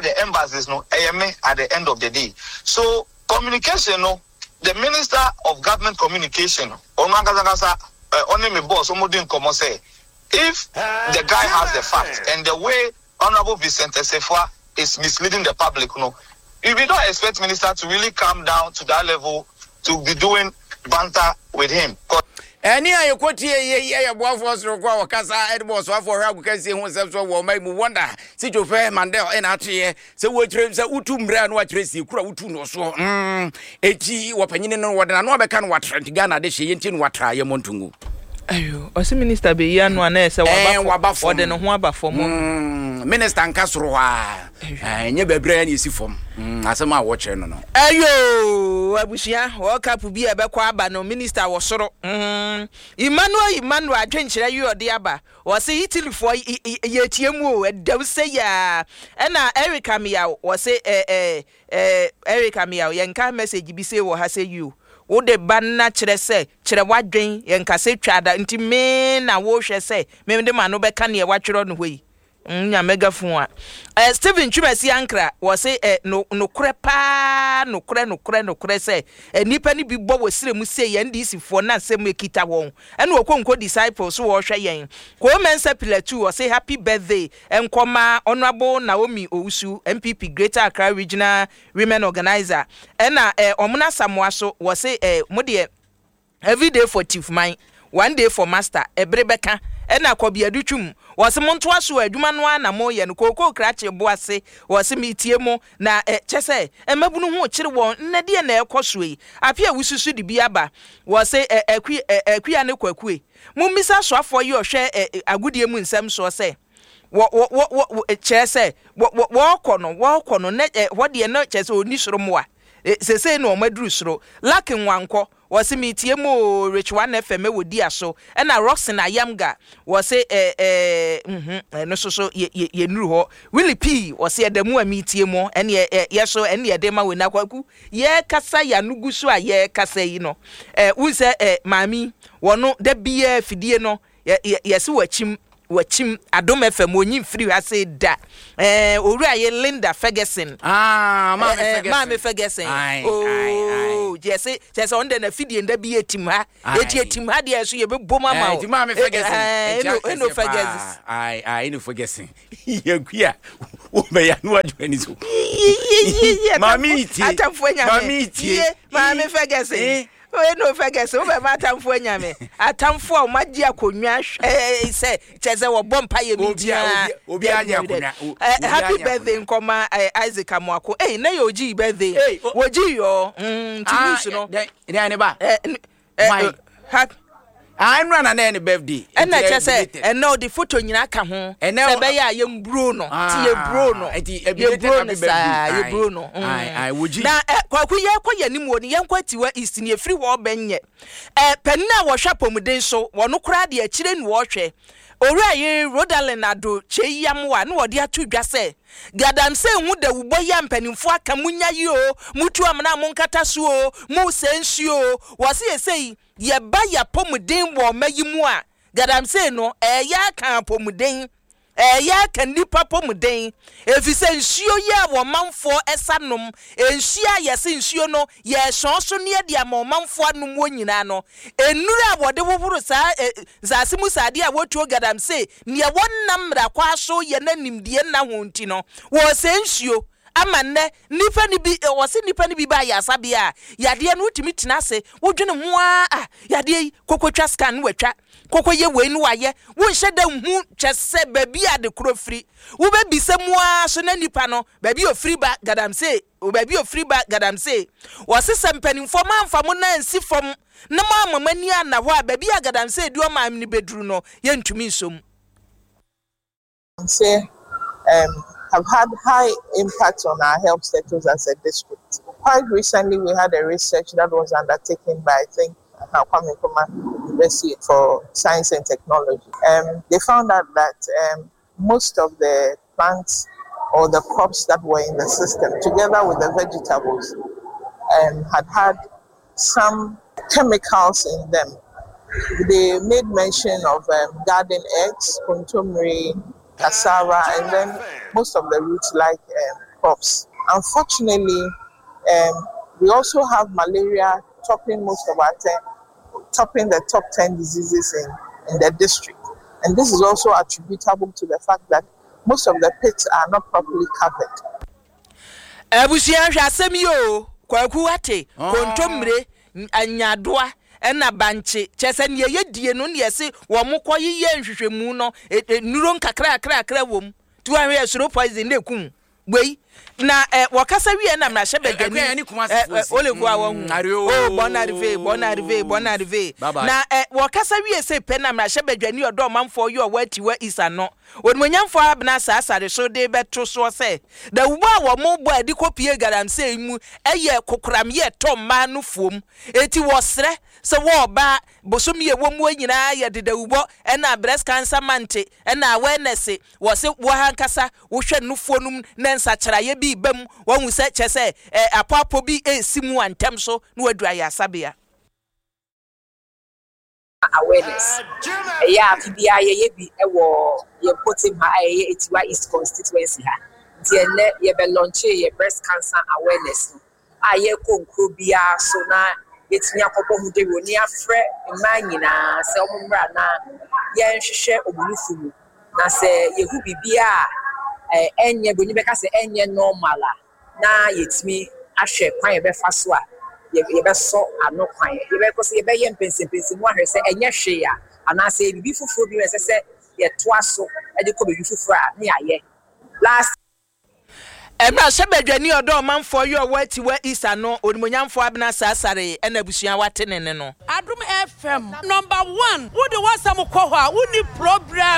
all the embassies no ɛyɛ me at the end of the day. So communication no the minister of government communication ɔno ankasa ankasa ɔne me boss wɔn di nkɔmɔ sɛ if the guy has the fact and the way Honourable Vincent Assafuah is misleading the public no we don't expect minister to really come down to that level to be doing banter with him. Ɛnne a yɛkɔtie yei yɛ boafoɔ soronko a ɔkasa de bɔ ɔsoafoɔ ɔhwɛ agokansie ho nsɛm soɔ wɔ ɔman yi mu Wonder Sitsofe Mandel na ateɛ sɛ wɔkyerɛ sɛ wotu mmerɛ a na wakyerɛ sie koro a wotu no soɔ mm, eti wɔpanyini no wɔde n'ano abɛka no watra nti Ghana de hye yɛntie no watra yɛ mmɔ ntongu. Ayo, ɔse minister bɛyi ano a na ɛsɛ waba fam, ɔde ne ho aba fam. Mm, minister nka soro hɔ a, ɛnyɛ baabi a na ɛsi fam. Mm, asɛm a wɔkyerɛ no no. Ayo, abusua, World Cup bi a ɛbɛkɔ aba no, minister wɔ soro. Mm, Emmanuel Emmanuel adwenkyerɛ yi ɔde aba. Wɔse Italyfoɔ yɛtie mu o, ɛdɛw sɛ yaa. Ɛna Eric Ameyaw, wɔse eh, eh, Eh Eric Ameyaw yɛnka message bi sei wɔ ha sɛ yiw wode ba na kyerɛ sɛ kyerɛ w'adwen yɛnka sɛ twa da nti me na wohwɛ sɛ me de m'ano bɛka neɛ watwerɛ no hɔ yi mm nya mega phone a eh Stephen Twumasi Ankra wɔ se eh no nokorɛ paa nokorɛ nokorɛ nokorɛ sɛ eh nnipa no bi bɔ wɔ serɛ mu sei NDC foɔ na nsɛm ekita wɔn ɛna Okonkwo disciple so wɔhwɛ yɛn Koo Mensah Pilatu ɔse happy birthday Nkɔma Honourable Naomi Owusu, NPP Greater Accra Regional Women Organiser, ɛna eh Ɔmona Asamoah so wɔse eh mo deɛ everyday for Chief Man, one day for Master, ɛbere bɛka, ɛna Kɔbi Adutwum wɔse montoa so adwuma no ara na moyɛ no, Kookoo Krakye Boase wɔse metie mo na eh kyɛsɛ mmabunu ho kyere wɔn nnɛ deɛ na ɛrekɔ soɔ yi, Appiah Awusu de bi aba wɔse eh Akua eh Akua ne Kwakue Mommisa asoafoɔ yi ɔhwɛ ɛ agodie mu nsɛm soɔ sɛ, wɔ wɔ wɔ wɔ kyerɛ sɛ, wɔ wɔ wɔrekɔ no, wɔrekɔ no, na ɛ hɔ deɛ na kyerɛ sɛ ɔnni soro mmoa. Ɛ seesei na wɔaduru soro. Luck Nwankɔ, wɔse meretie mo oo, Rich One FM wɔ Diaso. Ɛna Rockson Ayamga, wɔse ɛ ɛ mhm, ɛno nso so yɛ yɛ yɛnnuru hɔ. Willie P, wɔse ɛda mu a meretie mo, ɛneɛ ɛ yɛ so ɛne yɛde ma wei. Na Kwaku, Yɛrekasa yi ano gu so a yɛrekasa yi no, eh, wohu sɛ eh, maame yi, wɔno da biara fidie no, yɛ, yɛ, yɛse wakyim, wakyim, Adom FM, ɔnyi mfiri ha se da. Eh, owura ye Linda Ferguson. Ah, Maame eh, eh, Ferguson. Maame Ferguson. Aye, oh, aye, aye. Yɛse, kyerɛ sɛ ɔno deɛ n'afidie nda bi yɛtim ha. Eti etim ha deɛ so yɛbɛbom ama wo. Eti Maame Ferguson. Eh, Eno, Eno Ferguson. Aye, aye, Eno Ferguson. Yɛkua, wobɛyɛ ano adwuma ni so. Maame yi tie. Atamfo anya me. Maame yi tie. Maame Ferguson. Eno Ferguson, wobɛma atamfo anya me. Atamfo a wɔagye akonnwa sɛ kyɛ sɛ wɔbɔ mpa yɛ mi ntia. Obi agye akonnwa. Happy birthday nkɔma Isaac Amoako. Ei, na yɛ ogyi birthday. Wogyi yɔ. Nti news no. Dɛn ne ba? Why? Ah, ɛnura na na ne birthday. Ɛna kyɛ sɛ ɛnɛ ɔde photo nyinaa ka ho. Sɛ ɛbɛyɛ a yɛn bro no. Ti yɛ bro no. Yɛ bro no saa yɛ bro no. Na ɛ kwaku yɛ kɔ yɛn anim wɔ ni yɛn kɔ atiwa east ni efiri hɔ ɔbɛn nyɛ. Ɛ panin a wɔhwɛ apɔmuden so wɔn koraa deɛ akyire na wɔhwɛ. Owura yere Rodalyn Ado Kyei Yamoa na wɔde ato dwa sɛ Galamsey ho dawubɔ yi a mpanimfoɔ aka, monya yi oo, motu amena a monkata so oo, mosɛe nsuo oo, wɔse sesei yɛba yɛapɔmuden wɔ ɔma yi mu a, galamsey no ɛɛyɛ aka apɔmuden, ɛɛyɛ aka nnipa apɔmuden, efisɛ nsuo yi a ɔmanfoɔ sa nom, nsuo a yɛse nsuo no yɛresɔn so ne yɛde ama ɔmanfoɔ anom wɔ nyinaa no, nnuro a wɔde hohoro saa nsase mu sradeɛ a wɔtuo galamsey Nea wɔnnam mmara kwan so yɛ na nimdeɛ nna ho nti no, wɔresɛe nsuo ama nnɛ nnipa no bi, wɔse nnipa no bi ba ayaresabea a, yadeɛ no wotumi tena ase, wodwene ho ara, ah, yadeɛ yi, kɔkɔtwa scan no watwa, kɔkɔyɛ wei no wayɛ, wonhyɛ da nhu kyɛ sɛ baabi a ade korɔ firi. Wobɛbisa mu ara so na nipa no, baabi a ɔfiri ba, galamsey, baabi a ɔfiri ba, galamsey. Wɔse sɛ mpanimfoɔ moamfa mo nan ansi fam na moamma mo ani anna hɔ a, baabi a galamsey de ɔman no bɛduru no, yɛntumi nsɔ mu. Sɛ um, have had high impact on our health status as a district. Quite recently, we had a research that was undertaken by, I think, Kwame Nkrumah University for Science and Technology. Um, they found out that um, most of the plants or the crops that were in the system, together with the vegetables, um, had had some chemicals in them. They made mention of um, garden eggs, kontomire, cassava, and then most of the roots like um, crops. Unfortunately, um, we also have malaria topping most of our 10, topping the top 10 diseases in, in the district. And this is also attributable to the fact that most of the pits are not properly covered. Abusua hwɛ asɛm yi oo, Kwaku wate, kontommire, nyaadoa ɛna bankye, kyerɛ sɛ nea yɛdie no na yɛse wɔn kɔ yeyɛ nhwehwɛmu no, nnuro nkakrakrakra wɔ mu, nti woanhwɛ yɛ soro poison na ɛkum wei. Na ɛ, wɔkasa wie na mmarahyɛ badwani, ɛ, ɛ, ole ko a wɔhu, oh, bon arrive, bon arrive, bon arrive. Na ɛ, wɔkasa wie sɛ pɛ na mmarahyɛ badwani ɔdɔ ɔmanfoɔ yɛ ɔwɔ Atiwa East ano, Onimuonyamfoɔ Abena saa sare so de rebɛto soɔ sɛ, dawubɔ a wɔbɔ a ɛde kɔpue galamsey mu yɛ kokoram yɛ tɔ mmaa no fuom. Enti wɔsrɛ sɛ wɔ ɔbaa, bosome a ɛwɔ muo nyinaa yɛde dawubɔ ɛna breast cancer month ɛna awareness, wɔse wo ankasa wohwɛ nufoɔ no mu na nsakyeraeɛ bi reba mu, wahu sɛ kyerɛ sɛ apɔapɔ bi resi mu a ntɛm so na waduru ayaresabea. Awareness. Ɛyɛ a afe biara yɛyɛ bi wɔ yɛn mpɔtam ha a ɛyɛ Atiwa East constituency ha. Nti ɛnnɛ yɛbɛ launchee yɛ breast cancer awareness no a yɛrekɔ nkuro biara so na yɛatumi akɔbɔ ho dawuro na yɛafrɛ mmaa nyinaa sɛ wɔn mmra na yɛnhwehwɛ wɔn nufu mu na sɛ yɛhu biribiara a ɛnyɛ, buroni bɛka sɛ ɛnyɛ normal a, na yɛatumi ahwɛ kwan a yɛbɛfa so a yɛbɛsɔ ano kwan. Yɛbɛkɔ so yɛbɛyɛ mpɛnsɛmpɛnsɛmu ahwɛ sɛ ɛnyɛ hwee a, anaasɛ ɛyɛ biribi foforɔ bi na ɛsɛ sɛ yɛtoa so de kɔ baabi foforɔ a, na yɛayɛ. Last. Mmarahyɛbadwani ɔdɔ ɔmanfoɔ yɛ ɔwɔ Atiwa East ano, Onimuonyamfoɔ Abena Saasare ɛna abusua a wate ne nne no. Adom FM number one wode w'asɛm kɔ hɔ a wonni problem.